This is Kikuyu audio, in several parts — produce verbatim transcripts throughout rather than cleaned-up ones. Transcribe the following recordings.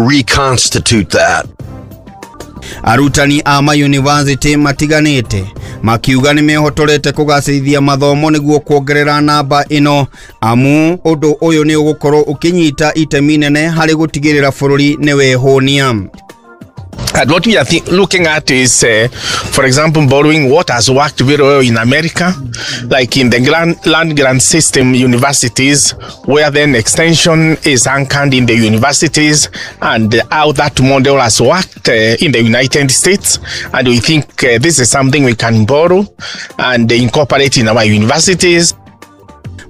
reconstitute that. Arutani a mayunivasĩtĩ matiganĩte makiuga nĩ mehotorete kũgacĩrithia mathomo nĩguo kuongerera namba ĩno, amu ũndũ ũyũ nĩ ũgũkorwo ũkĩnyita itemi nene harĩ gũtigĩrĩra bũrũri nĩ wehũnia. And what we are th- looking at is, uh, for example, borrowing what has worked very well in America, like in the grand, land grant system universities, where then extension is anchored in the universities, and how that model has worked uh, in the United States. And we think uh, this is something we can borrow and incorporate in our universities.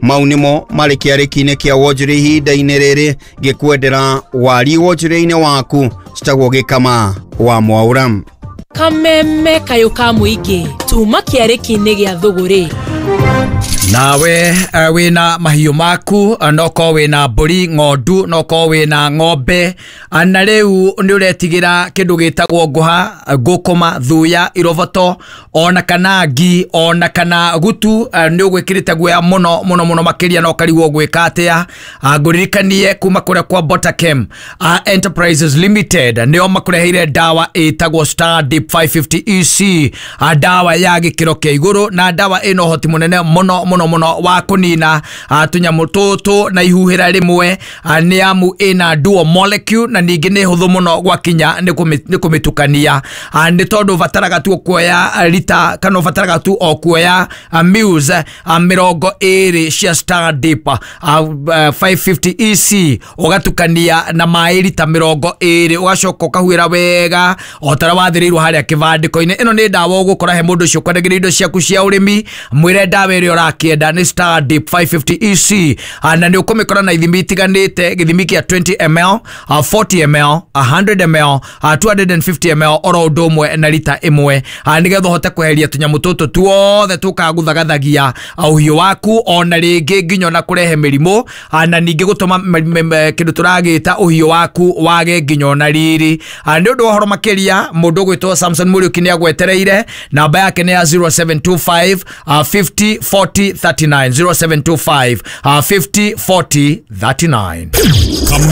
Mau nĩmo marĩ kĩarĩki-inĩ kĩa wonjoria ihinda-inĩ rĩrĩ ngĩkwendera wari wonjoria-inĩ waku citagwo gĩkama wa mwaũra. Kameme kayũ ka mũingĩ tuma kĩarĩki-inĩ gĩa thũgũrĩ. Nawe eh, wĩna mahiũ maku, eh, no korwo wĩna mbũri, ng'ondu, no korwo wĩna ng'ombe, eh, na rĩu nĩ ũretigĩra kĩndũ gĩtagwo ngũha, ngũkũma, thuya, iroboto, ona kana ngi, ona kana gutu, eh, nĩ ũgwĩkĩrĩte guoya mũno mũno mũno makĩria na ũkarigwo gwĩka atĩa. Ah, ngũririkanie kuma kũrĩa kwa Botakem ah, Enterprises Limited nĩo makũreheire ndawa ĩtagwo Star Dip mĩrongo ĩtano E C, ah, ndawa ya gĩkĩro kĩa igũrũ na ndawa ĩna ũhoti mũnene mũno mũno mũno wa kũnina ah, tũnyamũ tũtũ na ihuhĩra rĩmwe, ah, nĩ amu ĩna dual molecule na ningĩ nĩ hũthũ mũno gwakinya nĩ kũmĩ- nĩ kũmĩtukania. Ah, nĩ tondũ ũbataraga tu kuoya ah, rita kana ũbataraga tu o kuoya ah, mils ah, mĩrongo ĩrĩ cia Star Dip ah, ah, mĩrongo ĩtano E C, ũgatukania na maĩ rita mĩrongo ĩrĩ, ũgacoka ũkahuĩra wega o ta ũrĩa wathĩrĩirwo harĩa kĩbandĩko-inĩ. Ĩno nĩ ndawa ũgũkora he mũndũ ũcio ũkwendagĩria indo ciaku cia ũrĩmi, mwĩre ndawa ĩrĩa ũrakĩenda nĩ Star Dip mĩrongo ĩtano E C, ah, na nĩ ũkũmĩkora na ithimi itiganĩte, gĩthimi kĩa mĩrongo ĩrĩ ml, ah, mĩrongo ĩna ml, igana ml, ah, magana merĩ na mĩrongo ĩtano ml, oro ũndũ ũmwe na rita ĩmwe, ah, nĩgetha ũhote kweheria tũnyamũ tũtũ tuothe tũkaga gũthagathagia ah, ũhiũ waku, ona rĩngĩ nginya ona kũrehe mĩrimũ, ah, na ningĩ gũtũma m- m- m- kĩndũ tũragĩta ũhiũ waku wage nginya ona riri. Ah, nĩ ũndũ wa ũhoro makĩria, mũndũ ũgwĩtwo Samson Mũriũki nĩ agwetereire. Namba yake nĩ ya zero seven two five ah, fifty forty thirty-nine, zero seven two five ah, fifty forty thirty-nine.